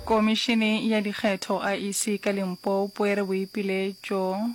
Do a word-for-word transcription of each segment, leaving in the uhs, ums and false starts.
Komišene ya Dikgetho, I E C, ka Limpopo e re boipiletšo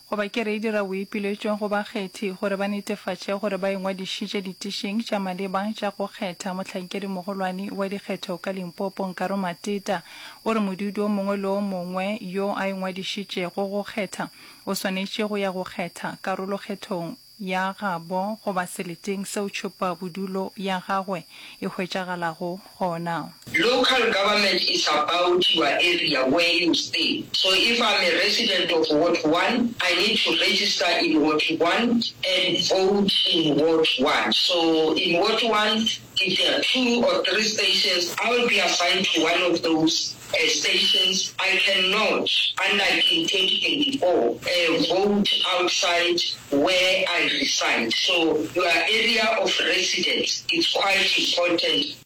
goba ke re e dira boipiletšo go bakgethi gore ba netefatše gore ba ingwadišitše ditišing tša maleba tša go kgetha. Mohlankedi-mogolwane wa dikgetho ka Limpopo, Nkaro Mateta, o re modudi o mongwe le o mongwe yo a ingwadišitšego go kgetha o swanetše go ya go kgetha karolokgethong ya gabo goba seleteng seo tšhupabodulo ya gagwe e hwetšagalago gona. Local government is about your area where you stay, so if I'm a resident of ward one, I need to register in ward one and vote in ward one. So in ward one, if there are two or three stations, I will be assigned to one of those stations. I cannot, unlike in twenty twenty-four, vote outside where I reside. So your area of residence is quite important.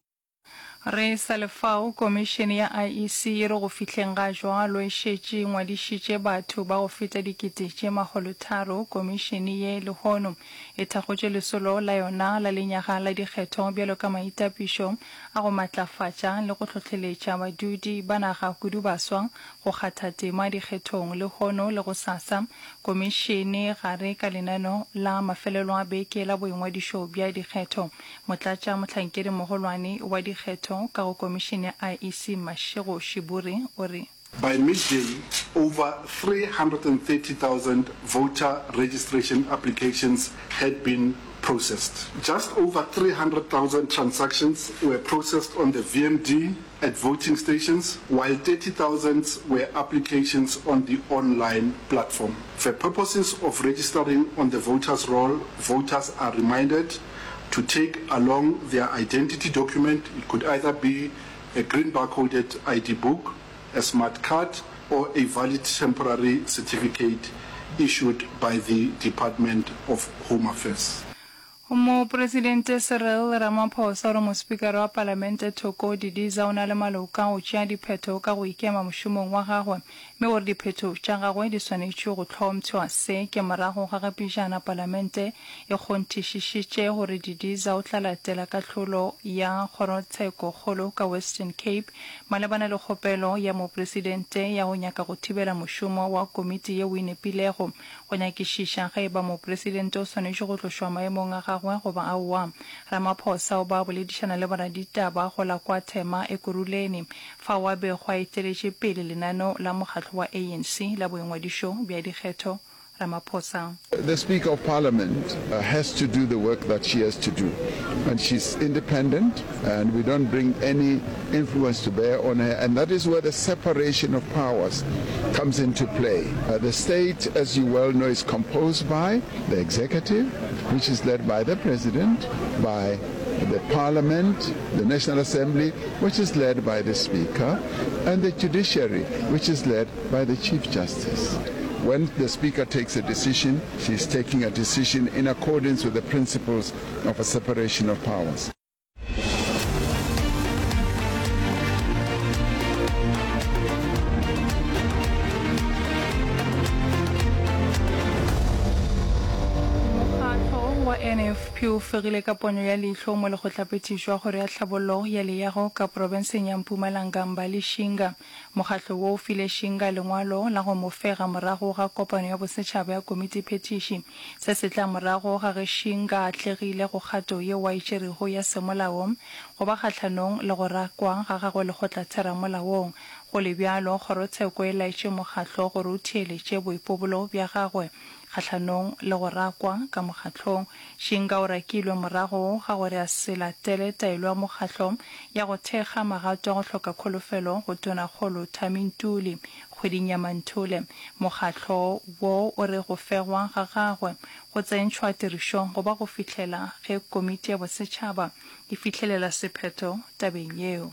Re sa le fao, Komišene ya I E C e re go fihleng ga jwalo e šetše e ngwadišitše batho ba go feta dikete tše makgolotharo. Komišene ye lehono e thakgotše lesolo la yona la lenyaga la dikgetho bjalo ka maitapišo a go matlafatša le go hlohleletša badudi ba naga kudu baswa go kgatha tema dikgethong lehono le gosasa. Komišene gare ka lenaneo la mafelelo a beke la boingwadišo bja dikgetho. Motlatša mohlankedi mogolwane wa dikgetho ka go komišene ya I E C Mashego Shiburi o re. By midday, over three hundred and thirty thousand voter registration applications had been processed. Just over three hundred thousand transactions were processed on the V M D at voting stations, while thirty thousand were applications on the online platform. For purposes of registering on the voters' roll, voters are reminded to take along their identity document. It could either be a green barcoded I D book, a smart card, or a valid temporary certificate issued by the Department of Home Affairs. Mopresidente Cyril Ramaphosa o re mospikara wa palamente Thoko Didiza o na le maloka a go tšea diphetho ka go ikema mošomong wa gagwe mme gore diphetho tša gagwe di swanetšwe go hlompšhwa. Se ke morago ga ge pejana palamente e kgonthišišitše gore Didiza o tla latela kahlolo ya kgorotshekokgolo ka Western Cape malebana le kgopelo ya mopresidente ya go nyaka go thibela mošomo wa komiti yeo e nepilego go nyakišiša ge e ba mopresidente o swanetše go tlošwa maemong a gagwe goba aowa. Ramaphosa o ba boledišana le boraditaba go la kwa Thema Ekurhuleni, fao a bego a eteletše pele lenaneo la mokgatlo wa A N C la boingwadišo bja dikgetho. Ramaphosa. The Speaker of Parliament has to do the work that she has to do and she's independent and we don't bring any influence to bear on her and that is where the separation of powers comes into play. The state, as you well know, is composed by the executive, which is led by the president, by the parliament, the National Assembly, which is led by the speaker, and the judiciary, which is led by the Chief Justice. When the speaker takes a decision, she is taking a decision in accordance with the principles of a separation of powers. Mokgatlo wa N F P o fegile ka ponyo ya leihlo mo lekgotlaphethišo wa Kgoro ya Tlhabollo ya Leago ka profenseng ya Mpumalanga Mbali Shinga. Mokgatlo wo o file Shinga lengwalo la go mo fega morago ga kopano ya bosetšhaba ya komitiphethiši. Se se tla morago ga ge Shinga a atlegile go kgato yeo a e tšerego ya semolao go ba kgahlanong le go rakwa ga gagwe lekgotlatheramolaong. Go le bjalo, kgorotsheko e laetše mokgatlo gore o theeletše boipobolo bja gagwe kgahlanong le go rakwa ka mokgatlong. Shinga o rakilwe morago ga gore a se latele taelo ya mokgatlo ya go thekga magato a go hloka kholofelo go Tonakgolo Thami Ntuli kgweding ya Manthole. Mokgatlo wo o re go fegwa ga gagwe go tsentšhwa tirišong go ba go fihlela ge komiti ya bosetšhaba e fihlelela sephetho tabeng yeo.